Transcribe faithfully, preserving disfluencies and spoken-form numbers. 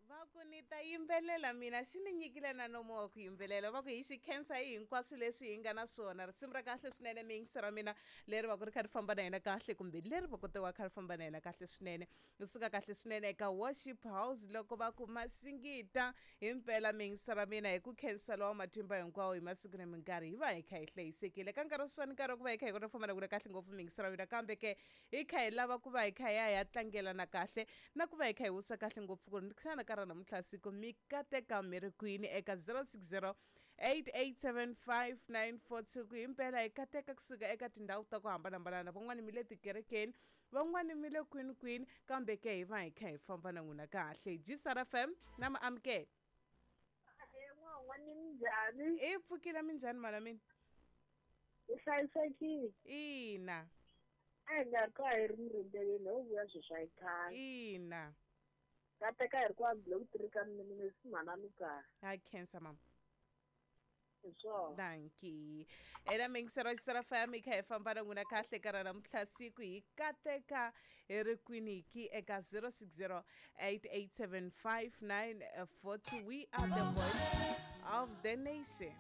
Va ku ni ta yimbelela mina xi ni nyikile na nomo wa ku yimbelela. Va ku hi xi khensa hi hinkwaswo leswi hi nga na swona. Risimu ra kahle swinene miyingisi ra mina leri va ku ri kha ri famba na yena kahle, kumbe leri va kote wa kha ri famba na yena kahle swinene. Ri suka kahle swinene eka Worship House loko va ku masingita. Himpela miyingisi ra mina hi ku khensa lowa matimba hinkwawo hi masiku na minkarhi hi va hi kha hi hlayisekile. Ka nkarhi sweswiwani nkarhi wa ku va hi kha hi kota ku famba na ku kahle ngopfu miyingisi ra mina, kambe ke hi kha hi lava ku va hi kha hi ya hi ya tlangelana kahle na ku va hi kha hi wisa kahle ngopfu ku ri xana ka ra namuntlha siku mi kateka mi ri kwini eka zero six zero eight eight seven five nine four two. Ku himpela hi kateka kusuka eka tindhawu ta ku hambanahambana, van'wani mi le tikerekeni, van'wani mi le kwini kwini, kambe ke hi va hi kha hi famba na n'wina kahle. G S R F M na mi amukela. N'wani minjhani? I pfukile minjhani mana mina? U hlayisekile? Ina. A hi nga ri ka hi ri murindzeleni ho vuya sweswi a hi khale. Ina. Kateka hi ri kwa block three ka mina mina si mhana Lukaya. Ha khensa mama. Hi swona. Dankie. Ena mingisero G S R F M hi kha hi famba na n'wina kahle ka ra namuntlha siku hi kateka hi ri kwini ki eka zero six zero eight eight seven five nine four two. We are the voice of the nation.